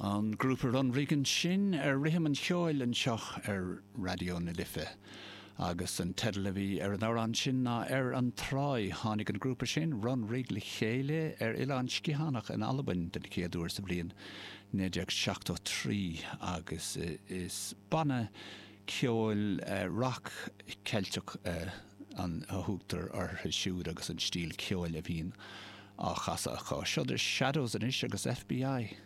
An grúpa Runrig ansin ar Rithim an Cheoil anseo ar Raidió na Life. Agus an teideal a bhí ar an amhrán sin ná Ar an Tráigh. Tháinig an grúpa sin, Runrig, le chéile ar Oileán Sgitheanach in Albain den chéad uair sa bhliain 1973 agus is banna ceoil rac Ceilteach a thugtar orthu siúd agus an stíl ceoil a bhíonn á chasadh acu. Seo The Shadows anois agus FBI.